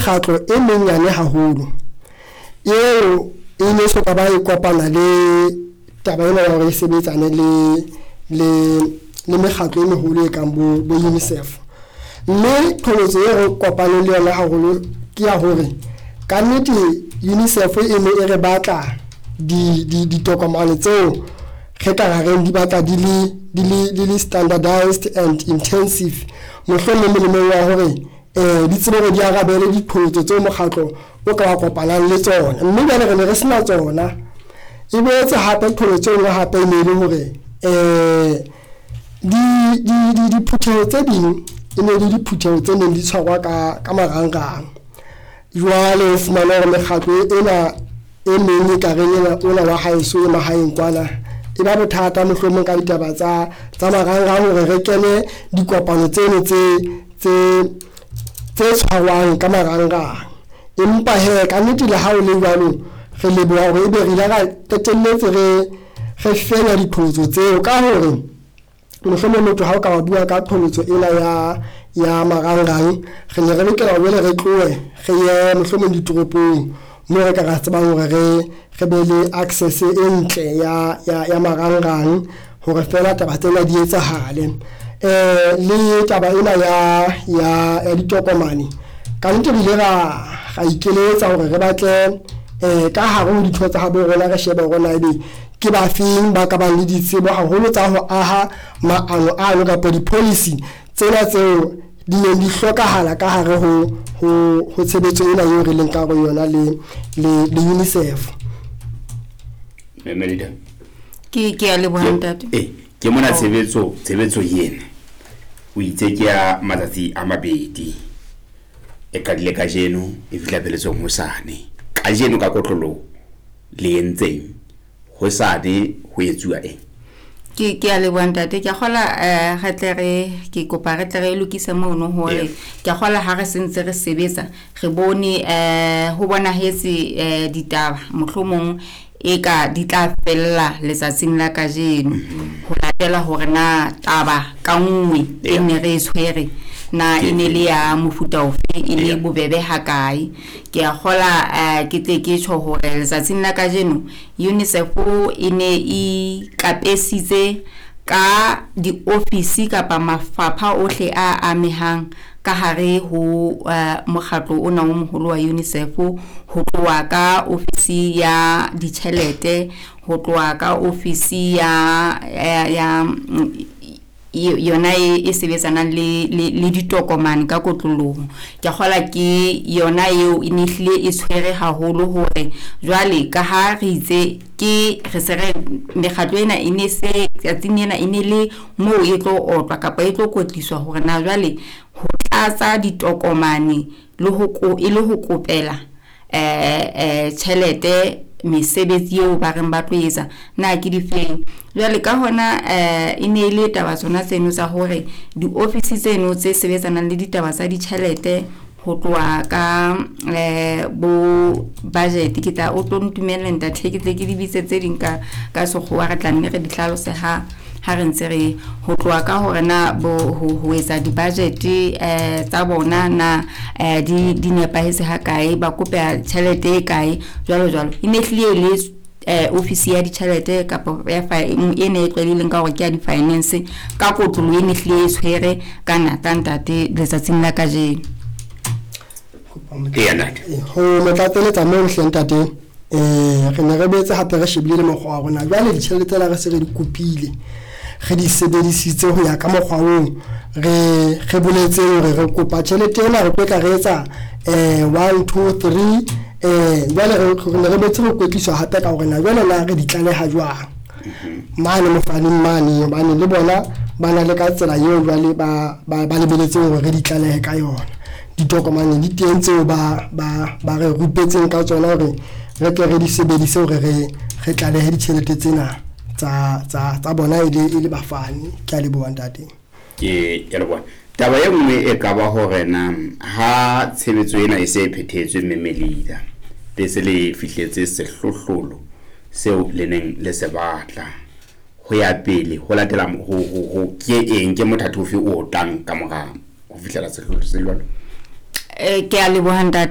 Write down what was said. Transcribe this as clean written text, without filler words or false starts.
Mekgatlo e menyane haholo eo e ne so ka ba e kopana le taba ena ya hore e sebetsane le mekgatlo e meholo e kang bo UNICEF. Mme qholotso e re kopaneng le yona haholo ke ya hore kannete UNICEF e ne e re batla ditokomane tseo re ka ra reng di batla di le standardized and intensive, mohlomong molemong wa hore di tsebe hore di arabele diqholotso tseo mokgatlo o ka wa kopanang le tsona, mme jwale re ne re sena tsona. E boetse hape qholotso e nngwe hape e ne e le hore diphutheho tse ding e ne le diphutheho tse neng di tshwarwa ka marangrang. Jwale o fumana hore mekgatlo ena e meng e ka reng ena ona wa haeso e mahaeng kwana e ba bothata mohlomong ka ditaba tsa marangrang hore re kene dikopano tseno tse tshwarwang ka marangrang. Empa he, ka nnete, le ha o le jwalo, re leboha hore ebe re ile ra qetelletse re fenya diqholotso tseo, ka hore mohlomong motho ha o ka wa bua ka qholotso ena ya marangrang, re ne re lokela hore jwale re tlohe re ye mohlomong ditoropong moo re ka ra tsebang hore re be le access e ntle ya marangrang hore fela taba tsena di etsahale. Le taba ena ya ditokomane, ka nnete re ile ra ikeletsa hore re batle ka hare ho ditho tsa habo rona, re shebe hore na ebe ke ba feng ba ka bang le ditsebo haholo tsa ho aha maano ano kapa di-policy tsena tseo di neng di hlokahala ka hare ho tshebetso ena eo re leng ka hare ho yona le UNICEF. Melida. Ke a leboha, ntate. Ke mona. Tshebetso ena o itse ke ya matsatsi a mabedi, e qadile kajeno, e fihla pheletsong hosane. Kajeno ka kotloloho le entseng, hosane ho etsuwa eng? Ke a leboha, ntate. Ke a kgola re tle re ke kopa re tle re lokise mono hore ke a kgola ha re sentse re sebetsa, re bone ho bonahetse ditaba mohlomong e ka di tla fella letsatsing la kajeno, ho latela hore na taba ka nngwe e ne re e tshwere na e ne le ya mofuta ofe, e le bobebe hakae. Ke a kgola ke tle ke tjho hore letsatsing la kajeno UNICEF e ne e ikapesitse ka diofisi kapa mafapha ohle a amehang ka hare ho mokgatlo ona o moholo wa UNICEF, ho tloha ka ofisi ya ditjhelete, ho tloha ka ofisi ya yona e sebetsanang le ditokomane ka kotloloho. Ke a kgola ke yona eo e ne hlile e tshwere haholo hore jwale ka ha re itse ke re se re mekgatlo ena e ne se tsatsing ena e ne le moo e tlo otlwa kapa e tlo kwetliswa hore na jwale ho tlatsa ditokomane le ho e le ho kopela tjhelete, mesebetsi eo ba reng ba tlo etsa na ke difeng. Jwale ka hona e ne e le taba tsona tseno tsa hore diofisi tseno tse sebetsanang le ditaba tsa ditjhelete, ho tloha ka bo budget, ke tla o tlo ntumelle, ntate, ke tle ke di bitse tse ding ka sekgowa, re tla nne re di hlalose ha re ntse re ho tloha ka hore na bo ho etsa di-budget tsa bona na di nepahetse ha kae, ba kopa tjhelete e kae, jwalo jwalo. E ne hlile e le ofisi ya ditjhelete kapa ya e ne e tlwaelehileng ka hore ke ya di-finance ka kotloloho, e ne hlile e tshwere ka nata, ntate, letsatsing la kajeno. Eya, ntate. Ho motlatseletsa moo hle, ntate, re ne re boetse hape re shebile le mokgwa wa rona. Jwale ditjhelete tsena re se re di kopile, re di sebedisitse ho ya ka mokgwa oo re boletseng hore re kopa tjhelete ena, re tlo tla re etsa 1, 2, 3. Jwale re ne re boetse re kwetliswa hape ka hore na jwale na re di tlaleha jwang mane mofaneng mane, hobane le bona ba na le ka tsela eo jwale ba lebeletseng hore re di tlalehe ka yona. Ditokomane di teng tseo ba re rupetseng ka tsona hore re tle re di sebedise hore re tlalehe ditjhelete tsena tsa bona e le bafani. Ke a leboha, ntate. Ke leboha. Taba e nngwe e ka ba hore na ha tshebetso ena e se e phethetswe, mme Melida, le se le fihletse sehlohlolo seo le neng le se batla, ho ya pele ho latela ho ke eng, ke mothathi ofe o tlang ka mora ho fihlela sehlohlolo se jwalo? Ke a leboha, ntate.